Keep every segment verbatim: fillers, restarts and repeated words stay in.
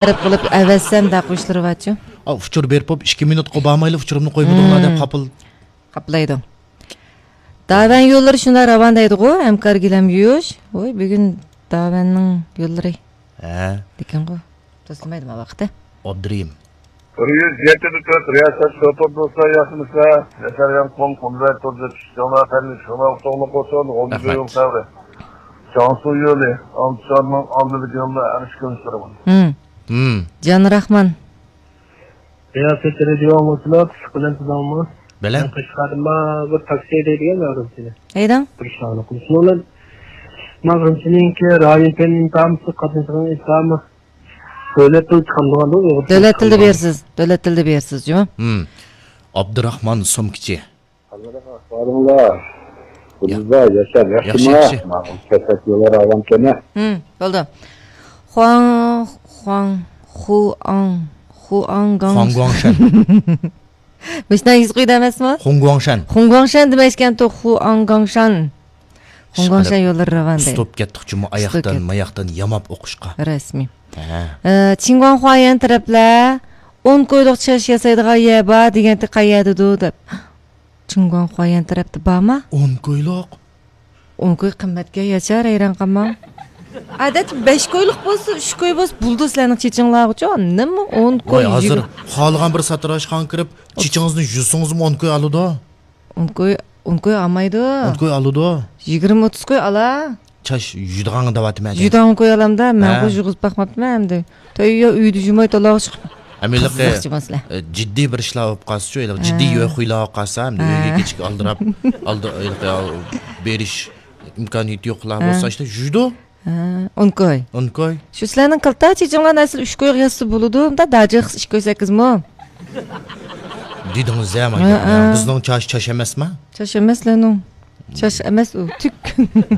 تەرەپ قىلىپ ئەۋەتسەم دەپ ئۇچۇرى بارچۇ. ئا، ئۇچۇر بېرىپ بوپ، ئىككى مىنۇتقا بارمايلا ئۇچۇرۇمنى قويمىدىڭلار دەپ، ھىم، خاپىلا. قاپلايدۇ. داۋەن يوللىرى شۇنداق راۋان دەيدىغۇ، ھەمكارگىلەم يۇيۇش. ۋوي، بۈگۈن داۋەننىڭ يوللىرى. ھە. لېكىنغۇ، توسۇلمايدۇ ما ۋاقتى. ئابدۇرېھىم. بىر يۈز يەتتە تۆت رىياسەت شوپۇر دوستلار ياخشىمىسىلەر؟ ياشار يانقۇن، قۇمزاي تۇرزى، چۈشتۈڭلار پەننى، شۇڭلار ئۇتۇقلۇق بولسۇن، غۇلجا يول سەۋرى. جياڭسۇ يولى، ئالتە شارنىڭ ئالدىدىكى يولدا ئەرش كۆرۈنۈشلىرى بار. ھىم. ھىم. جان راخمان. رىياسەتچى رادىيو ئاڭلىغۇچىلار، پىششىق بىلەن سىزنىڭمۇ؟ بىلەن. مەن قەشقەردىن بار بىر تاكسى ھەيدەيدىغان مەغرۇمچىنى. ھەيدەڭ. بىر ئىشنى ھەل قىلىش. شۇنىڭ بىلەن مەغرۇمچىنىڭكى رايون پەن ئىمتىھانى، قاتنىشىدىغان ئىمتىھانى دۆلەت تىلى چىقامدىغاندۇ، ئۇيغۇر تىلى دۆلەت تىلىدا چىقامدىغاندۇ؟ بېرىسىز، دۆلەت تىلىدا بېرىسىز جۇمۇ. ھىم. ئابدۇراخمان سومكىچى. ئەھۋالىڭلار؟ يا-، قۇدۇزدا ياشار، ياخشى، ياخشىما؟ ياخشى. ماڭا كەسەك يوللار ئاۋام كەنە. ھىم، بولدى. خۇاڭ، خۇاڭ، خۇئاڭ، خۇئاڭگاڭ. خۇاڭگۇاڭشەن. مۇشۇنداق يېزىق ئۆيدە ئەمەسمۇ؟ خۇڭگۇاڭشەن. خۇڭگۇاڭشەن دېمەيسىكەنتۇ، خۇئاڭگاڭشەن. خۇڭگۇاڭشەن يوللىرى راۋان دەيدۇ. ئۇستاپ كەتتۇق جۇمۇ، ئۇستاپ ئاياقتىن، كەتتۇق. ماياقتىن ياماپ ئوقۇشقا. رەسمىي. ھە. ئە، چىڭگۇاڭخۇايەن تەرەپلەر ئون كويلۇق چاچ ياسايدىغان يەر بار دېگەنتى، قەيەردىدۇ دەپ. چىڭگۇاڭخۇايەن تەرەپتە بارما؟ ئون كويلۇق. ئون كوي قىممەتكەن ياچار، ھەيران قالماڭ. ئادەتتە بەش كويلۇق بولسا، ئۈچ كوي بولسا بولىدۇ سىلەرنىڭ چېچىڭلارغىچۇ. نېمە ئون كوي، ۋاي، ھازىر يىگىرمە. خالىغان بىر ساتىراچخانىغا كىرىپ، ئوتتۇز. چېچىڭىزنى يۇسىڭىزمۇ ئون كوي ئالىدۇ. ئون كوي، ئون كوي ئالمايدۇ. ئون كوي ئالىدۇ. يىگىرمە، ئوتتۇز كوي ئالا. چاچ يۇيىدىغانغا دەۋاتىمەن. يۇيىدىغان كوي ئالامدا، مەن ھە. قوي يۇغۇزۇپ باقماپتىمەن ئەمدى. تۆيە ئۆيدە يۇماي تالاغا چىقىپ. ئەمدى ھېلىقى، قىزىقچى مەسىلە. ئە، جىددىي بىر ئىشلار بولۇپ قالسىچۇ، ھېلىقى جىددىي ھە. يۆ خۇيلار بولۇپ قالسا، ئەمدى ھە. ئۆيگە كېچىكىپ ئالدىراپ، ئالدى، ھېلىقى، ئال-، بېرىش ئىمكانىيىتى يوقلار ھە. بولسا، ئىشتە يۇيىدۇ. ھە، ئون كوي. ئون كوي. شۇ سىلەرنىڭ كالتا چېچىڭلارنى ئەسلى ئۈچ كويغا يازسا بولىدۇ، مۇندا داجىق ئىككى كوي سەككىزمۇ؟ دېدىڭىز-ھە، ھە، مانا. ھە. بىزنىڭ چاچ، چاچ ئەمەسما؟ چاچ ئەمەس، لەنۇڭ. چاچ ئەمەس ئۇ، تۈك.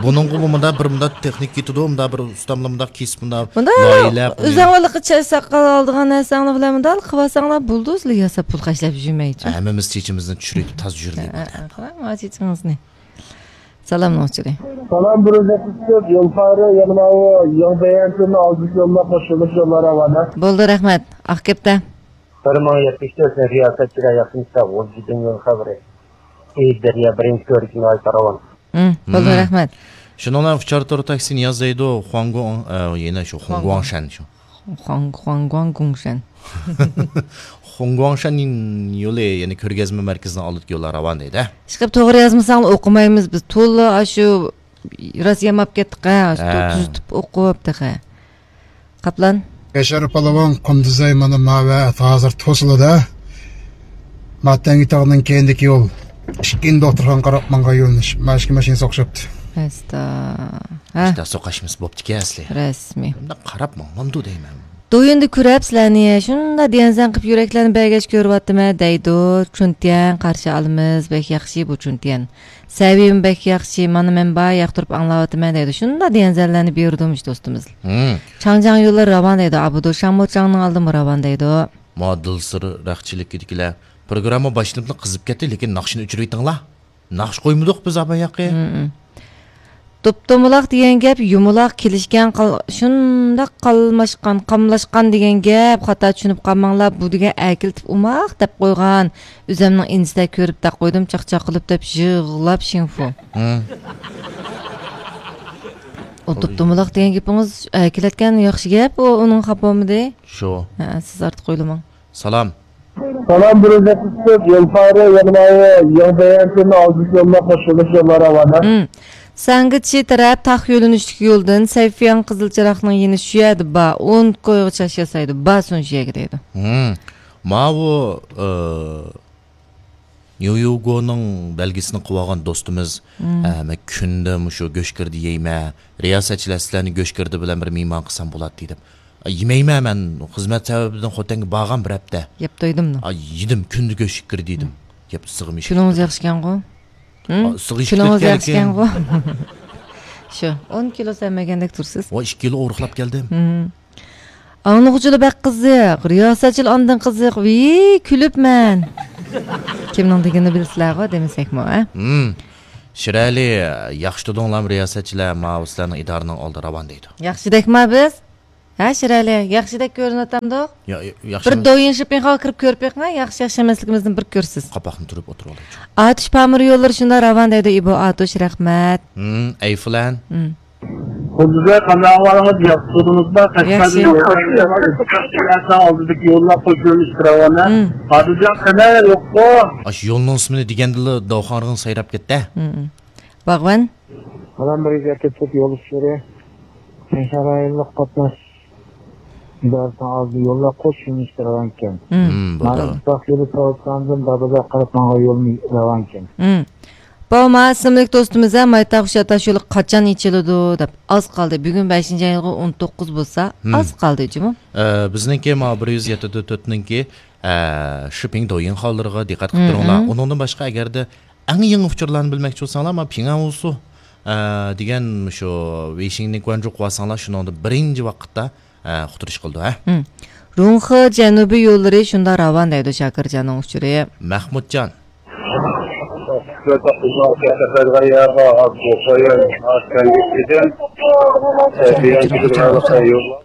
بۇنىڭغا بۇ مۇنداق بىر مۇنداق تېخنىكا كېتىدۇ، مۇنداق بىر ئۇستاملار مۇنداق كېسىپ، مۇنداق مۇنداق لايىھەلەر قىلىپ. ئۆزۈڭلارلىقى چاچ ساقال ئالىدىغان نەرسەڭلار بىلەن مۇنداق قىلىۋالساڭلار بولدى، ئۆزلىرى ياساپ پۇل خەجلەپ يۈرمەيچۇ. ھەممىمىز چېچىمىزنى چۈشۈرۈپ تازا يۈرمەي ھە، بولدى. ھە، ھە، قاراڭ، چېچىڭىزنى. سالام نوچىلى. سالام، بىر ئۆزەك قىسىپ، يول پارى، يەنە ماۋۇ يېڭى بەيەنچىنى ئالدىنچى يوللاپ قوشۇلۇش يوللار راۋانە. بولدى، رەھمەت. ئاق كەپتە. بىر مىڭ يەتمىش تۆت رىياسەتچىلەر ياخشىمىسىلەر، غۇلجىدىن يول خەۋىرى. ئېيىب دەريا بىرىنچى كۆۋرۈكى ناھايىتى راۋان. ھىم، بولدى، ھىم. رەھمەت. شۇنىڭ بىلەن ئۇچار تور تاكسىنى ياز دەيدۇ، خۇاڭگۇڭ، ئە، يەنە شۇ خۇاڭگۇاڭ. خۇاڭگۇاڭشەن شۇ. خۇاڭ-، خۇاڭگۇاڭگۇڭشەن. خۇاڭگۇاڭشەن يولى، يەنى كۆرگەزمە مەركىزىنىڭ ئالدىدىكى يوللار راۋان دەيدۇ. ئىشقىلىپ توغرا يازمىساڭلار ئوقۇمايمىز بىز. تولا ئاشۇ راست ياماپ كەتتۇق ھە، ھە. تۈزىتىپ ئوقۇپ تېخى. قاپلان. ياشار پالۋان، قۇمدىزاي مانا ماۋە ھازىر توسۇلىدۇ. ماتەڭگى تاغنىڭ كەينىدىكى يول. ئىككىنچى دوختۇرخانىغا قاراپ ماڭغان يۆنىلىش. ماشىنا، ماشىنىسى ئوخشاپتۇ. ئەستا. ھە. ئىشتا سوقاشمىسى بوپتىكەن ئەسلى. رەسمىي. بۇنداق قاراپ ماڭمامدۇ دەيمەن. دويۇندى كۆرەپ سىلەرنى، شۇنداق دىيەنسەن قىپ يۈرەكلەرنى بەرگەچ كۆرۈۋاتىمەن دەيدۇ. چۈنتيەن قارشى ئالىمىز، بەك ياخشى بۇ چۈنتيەن. سەۋىيەم بەك ياخشى، مانا مەن بار ياقتۇرۇپ ئاڭلاۋاتىمەن دەيدۇ. شۇنداق دىيەنسەنلەرنى بېرىدۇ مۇشۇ دوستىمىز. ھىم. چاڭجياڭ يوللىرى راۋان دەيدۇ، ئابىدۇ شاڭمۇچاڭنىڭ ئالدىمۇ راۋان دەيدۇ. ما دىلسىر رەخچىلىكىدىكىلەر. پروگرامما باشلىنىپلا قىزىپ كەتتى، لېكىن ناخشىنى ئۆچۈرۈۋېتىڭلار. ناخشا قويمىدۇق بىز ئاباياقى. ھىم، ھىم. دوپپا-دومىلاق دېگەن گەپ يۇمىلاق كېلىشكەن قال-، شۇنداق قالماشقان، قاملاشقان دېگەن گەپ، خاتا چۈشىنىپ قالماڭلار، بۇ دېگەن ئەركىلىتىپ ئوماق دەپ قويغان، ئۆزەمنىڭ ئىنىسىدەك كۆرۈپ دەپ قويدۇم، چاقچاق قىلىپ دەپ يىغلاپ شىڭفۇ. ھىم. ئۇ دوپپا-دومىلاق دېگەن گېپىڭىز ئەركىلەتكەن ياخشى گەپ، ئۇ، ئۇنىڭ خاپا بولمىدى. شۇ. ھە، سىز ئارتۇق ئويلىماڭ. سالام. سالام، بىر ئۆزەك قىسىپ، يول پارى، يەنە ماۋۇ يېڭى بەيەنچىنى ئالدىنچى يوللاپ قوشۇلۇش يوللار راۋانە. ھىم. سەنگىچى تەرەپ تاق يۆنىلىشلىك يولدىن سەيفىيان قىزىل چىراغنىڭ يېنى شۇ يەردە بار. ئون كويغا چاچ ياسايدۇ. بارسۇن شۇ يەرگە دەيدۇ. ھىم. ماۋۇ، ئى، نيۇيوگونىڭ بەلگىسىنى قىلىۋالغان دوستىمىز، ھىم. ئە، مەن كۈندە مۇشۇ گۆشگىردە يەيمەن. رىياسەتچىلەر سىلەرنى گۆشگىردە بىلەن بىر مېھمان قىلسام بولاتتى دەپ. يېمەيمەن مەن، خىزمەت سەۋەبىدىن خوتەنگە بارغان بىر ھەپتە. يەپ تويدۇممۇ؟ ئاي، يېدىم، كۈندە گۆش ئىككىرى دېدىم. يەپ ئىسسىقىم ئىشلىتىپ كۈنىڭىز تۇردۇم. ياخشىكەنغۇ؟ ھىم؟ ئا، ئىسسىق ئىشلىتىپ كۈنىڭىز كەلگەن. ياخشىكەنغۇ؟ شۇ، ئون كىلو سەممىگەندەك تۇرسىز. ۋاي، ئىككى كىلو ئورۇقلاپ كەلدىم. ھىم. ئاڭلىغۇچىلار بەك قىزىق، رىياسەتچىلەر ئاندىن قىزىق، ۋىي، كۈلۈپ مەن. كىمنىڭ دېگىنىنى بىلىسىلەرغۇ، دېمىسەكمۇ، ھە؟ ھىم. شىرئەلى، ياخشى تۇردۇڭلارمۇ رىياسەتچىلەر، ماۋۇ سىلەرنىڭ ئىدارىنىڭ ئالدى راۋان دەيدۇ. ياخشىدەكما بىز؟ ھە، شىرئەلى، ياخشىدەك كۆرۈنۈۋاتامدۇق؟ يا، يا، ياخشى بىر ئەمەس. دويىن شىپىڭخاغا كىرىپ كۆرۈپ بېقىڭ، ياخشى، ياخشى ئەمەسلىكىمىزنى بىر كۆرىسىز. قاپاقنى تۈرۈپ ئولتۇرۇۋالايچۇ. ئاتۇش پامىر يوللىرى شۇنداق راۋان دەيدۇ، ئىبو ئاتۇش، رەھمەت. ھىم، ئەيفۇلەن. ھىم. قۇددۇزە، قانداق ئەھۋالىڭىز؟ ياخشى تۇردىڭىزما؟ ياخشى. قەشقەردىن ئالدىدىكى يوللار قوش يۆنىلىشكە راۋان. ھىم. ئادىلجان، قېنى، يوققۇ؟ ئاشۇ يولنىڭ ئىسمىنى دېگەندىلا داۋخانىغا سايراپ كەتتى. ھىم. باغۋەن. سالام، بىر يۈز يەتتە تۆت يول ئۇچۇرى. شەڭشەن رايونلۇق قاتناش ئىدارىسىنىڭ ئالدىدا يوللار قوش يۆنىلىشتە راۋانكەن. مم. مم، بولدى. مانا ئىتتىپاق يولى تاۋۇتخانىدىن دادىدا قاراپ ماڭغان يولمۇ راۋانكەن. مم. بۇ ما ئىسىملىك دوستىمىز ھە، مايتاغ ئۇششاتاش يولى قاچان ئېچىلىدۇ دەپ ئاز قالدى. بۈگۈن بەشىنچى ئايغا ئون توققۇز بولسا، مم. ئاز قالدى جۇمۇ. ئە، بىزنىڭكى ما بىر يۈز يەتتە تۆتنىڭكى، ئە، شىپىڭ دويىن خاللىرىغا دىققەت قىلىپ مم، تۇرۇڭلار. مم. ئۇنىڭدىن باشقا ئەگەردە ئەڭ يېڭى ئۇچۇرلارنى بىلمەكچى بولساڭلار، ما پىڭئەنۋۇسۇ، ئە، دېگەن شۇ ۋېيشىڭنى گۇەنجۇ قىلىۋالساڭلار، شۇنىڭدا بىرىنچى ۋاقىتتا، ئە، ئۇقتۇرۇش قىلىدۇ، ھە. ھىم. رۇڭخې جەنۇبىي يوللىرى شۇنداق راۋان دەيدۇ شاكىرجاننىڭ ئۇچۇرى. مەھمۇتجان.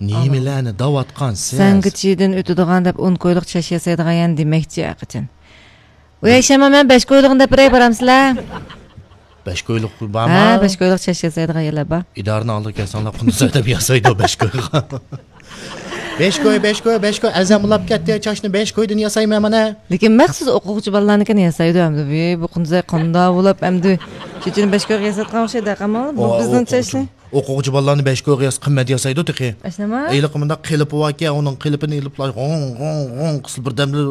نېمىلەرنى دەۋاتقانسىز؟ سەنگىچىدىن ئۆتىدىغان دەپ ئون كويلۇق چاش ياسايدىغان يەنە دېمەكچى ھەقىچان. ئۇ يەشەمە مەن بەش كويلۇقنى دەپ بېرەي، بارامسىلەر؟ بەش كويلۇق بارمۇ؟ ھە، بەش كويلۇق چاش ياسايدىغان يەرلەر بار. ئىدارىنىڭ ئالدىغا كەلسەڭلار، قۇندۇز ئەدەپ ياسايدۇ بەش كويغا. بەش كوي، بەش كوي، بەش كوي، ئەزەم ئۇلاپ كەتتى، چاچنى بەش كويدىن ياسايمەن مانا. لېكىن مەخسۇس ئوقۇغۇچى بالىلارنىڭكىنى ياسايدۇ ئەمدى. ۋى، بۇ قۇندۇزەي قانداق ئۇلاپ ئەمدى چېچىنى بەش كويغا ياساتقان ئوخشايدۇ، قامال. بۇ ئو، بىزنىڭ ئوقۇغۇچى، چاچنى. ئوقۇغۇچى بالىلارنى بەش كويغا ياساپ قىممەت ياسايدۇ تېخى. ئاشۇنداقمۇ؟ ھېلىقى مۇنداق قېلىپى باركەن، ئۇنىڭ قېلىپىنى ئېلىپلا غوڭ، غوڭ، غوڭ قىلسا بىردەمدە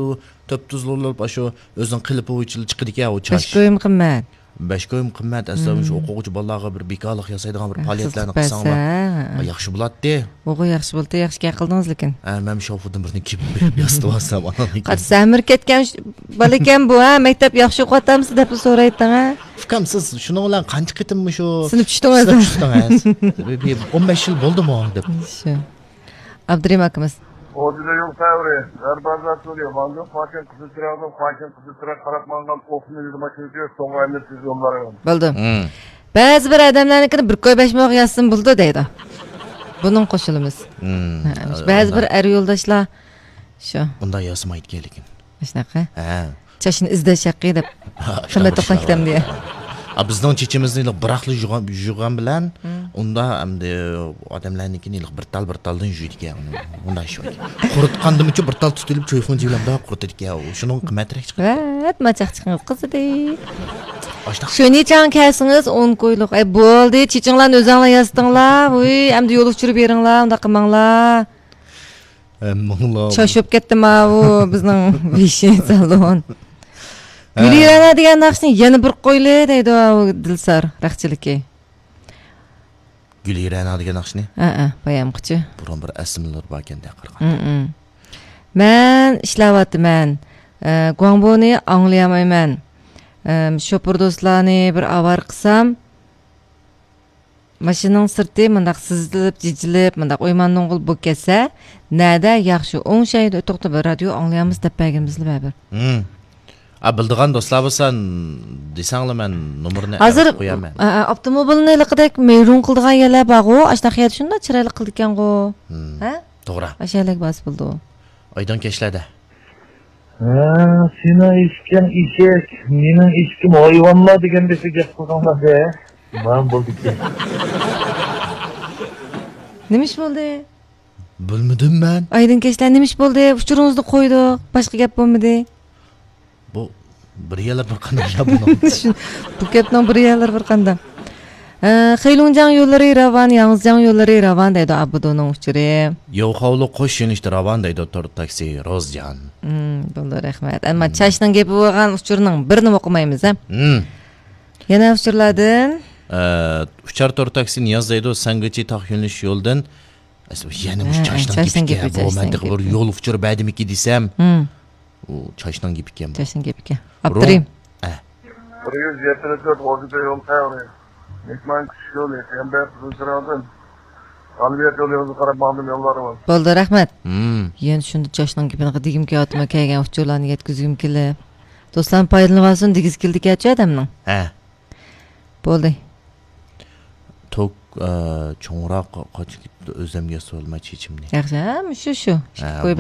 تۆپ تۈزلا بولۇپ، ئاشۇ ئۆزىنىڭ قېلىپى بويىچە چىقىدىكەن ئۇ چاچ. بەش كويمۇ قىممەت. بەش كويمۇ قىممەت، ئەسلى مم. شۇ ئوقۇغۇچى بالىلارغا بىر بىكارلىق ياسايدىغان بىر ھە، پائالىيەتلەرنى قىلساڭلار. ھە، ھە. ياخشى بولاتتى. ئوغۇ ياخشى بولدى، ياخشى گەپ قىلدىڭىز لېكىن. ھە، مەن شوفېردىن بىرنى كىيىپ بېرىپ ياسىتىۋالسام، ئانان كېيىن. قاچا سەمىرىپ كەتكەن ش-، بالا ئىكەن بۇ، ھە، مەكتەپ ياخشى ئوقۇۋاتامسىز دەپلا سورايتتىڭ، ھە؟ ئۇكام، سىز شۇنىڭ بىلەن قانچە قېتىم مۇشۇ سىنىپ چۈشتىڭىز؟ سىنىپ چۈشتىڭىز؟ بىر، بىر ئون بەش يىل بولدىمۇ دەپ. شۇ. ئابدۇرېھىم ئاكىمىز. ئوردىدا يول تەۋرى، دەربازا تۈرى، ماڭدۇق، پاكەن، قىزىل چىراغدىن، پاكەن، قىزىل چىراغ قاراپ ماڭغان ئوخۇمنى يۈز ماشىنا كۆرۈپ، سوڭغا ئەمدى تېز يوللارغا. بولدى. مم. بەزى بىر ئادەملەرنىڭكىنى بىر كوي بەش موغا يازسىمۇ بولىدۇ دەيدۇ. بۇنىڭ قوشۇلىمىز. مم. ھە، ھە، بەزى بىر ئەر يولداشلار شۇ. ئۇنداق ياسىمايدىكەن لېكىن. شۇنداققۇ؟ ھە. چاچنى ئىزدەش ھەققى دەپ. ھە، قىممەت توختاڭ كېتەمدۇ يا؟ ھە، بىزنىڭ چېچىمىزنى بىراقلا يۇغان، يۇغان بىلەن، مم. ئۇندا ئەمدى ئادەملەرنىڭكىنى بىر تال، بىر تالدىن يۇيىدىكەن. ئۇنداق ئىش بار. قۇرۇتقاندىمۇچۇ بىر تال تۇتۇلۇپ، چويفېڭجى بىلەن مۇنداق قۇرۇتىدىكەن. شۇنىڭ قىممەترەك چىقىدۇ. ۋەت، ماچاق چىقىڭىز قىزىدى. ئاشۇنداق. شۇنى چاڭ كەلسىڭىز ئون كويلۇق. ئەي، بولدى، چېچىڭلارنى ئۆزۈڭلار ياسىتىڭلار. ۋۇي، ئەمدى يول ئۇچۇرى بېرىڭلار، ئۇنداق قىلماڭلار. ھەممىڭلار. چاش بولۇپ كەتتى ماۋۇ بىزنىڭ ۋىشى سالون. ھە. گۈلىرەنا دېگەن ناخشىنى يەنە بىر قويلى دەيدۇ ئاۋۇ دىلسار رەخچىلىكى. گۈلىرەنا دېگەن ناخشىنى؟ ھە، ھە، بايامقىچە. بۇرۇن بىر ئەسلىمىلىرى باركەن دە قارىغان. ھم، ھم. مەن ئىشلەۋاتىمەن. ئە، گۇاڭبونى ئاڭلىيالمايمەن. ئەم، شوپۇر دوستلارنى بىر ئاۋارە قىلسام، ماشىنىنىڭ سىرتى مۇنداق سىزىلىپ، جىجىلىپ، مۇنداق ئويمان نوڭغۇل بولۇپ كەتسە، نەدە ياخشى، ئوڭشايدا توختاپ بىر رادىيو ئاڭلىيالمىسا دەپ بەرگىنىمىزلا بەرىبىر. ھىم. ئا، بىلىدىغان دوستلار بولسا، دېسەڭلار مەن نومۇرنى ھازىر، ئەۋەتىپ قويارمەن. ئا، ئا، ئاپتوموبىلنى ھېلىقىدەك مەيرۇڭ قىلىدىغان يەرلەر بارغۇ، ئاشۇنداق يەردە شۇنداق چىرايلىق قىلىدىكەنغۇ. ھىم. ھە؟ توغرا. ئاشۇ يەرلەرگە بارسا بولىدۇ. ئايدىڭ كەچلەردە. ھە، سېنىڭ ئېشىكىڭ ئېشەك، مېنىڭ ئېشىكىم ھايۋانلار دېگەندەك گەپ قىلدىڭلار دە. مانا بولدىكەن. نېمە ئىش بولدى؟ بىلمىدىم مەن. ئايدىڭ كەچلەر نېمە ئىش بولدى؟ ئۇچۇرىڭىزنى قويدۇق. باشقا گەپ بولمىدى. بۇ بىر يەرلەر بىر قانداق يا بۇنىڭ. شۇ، بۇ گەپنىڭ بىر يەرلىرى بىر قانداق. ئە، خېيلۇڭجياڭ يوللىرى راۋان، ياڭزىجياڭ يوللىرى راۋان دەيدۇ ئابىدۇنىڭ ئۇچۇرى. يوخاۋلۇق قوش يۆنىلىشتە راۋان دەيدۇ تور تاكسى روزجان. مم، بولدى، رەھمەت. ئەمما مم. چاچنىڭ گېپى بولغان ئۇچۇرنىڭ بىرىنى ئوقۇمايمىز، ھە؟ مم. يەنە ئۇچۇرلاردىن. ئە، ئۇچار تور تاكسى نىياز دەيدۇ، سەنگىچى تاق يۆنىلىش يولدىن. ئەسلى يەنە مۇشۇ ھە، ھە، چاچنىڭ چاچنىڭ گېپى، گېپى، بۇ چاچنىڭ مەندە بىر گېپى. يول ئۇچۇرى بەردىمىكى دېسەم. مم. ئۇ چاچنىڭ گېپى ئىكەن بۇ. چاچنىڭ گېپى ئىكەن. ئابدۇرېھىم. ئە. بىر يۈز يەتتە تۆت ئوردىدا يول تەۋرى. مېھمان كۈتۈش يولى، قەمبەر قىزىلچىراغدىن ئالۋىيەت يولى يولىغا قاراپ ماڭدىم يوللارغا. بولدى، رەھمەت. مم. يەنە شۇنداق چاچنىڭ گېپىنى دېگۈم كېلىۋاتىمەن، كەلگەن ئۇچۇرلارنى يەتكۈزگۈم كېلىپ. دوستلارمۇ پايدىلىنىۋالسۇن دېگۈسى كېلىدىكەنچۇ ئادەمنىڭ. ھە. بولدى. توك ئە، چوڭراق قاچا كېتىپتۇ، ئۆزۈم ياسىۋالماي چېچىمنى. ياخشى، ھە، شۇ، شۇ. ھە، قويۇپ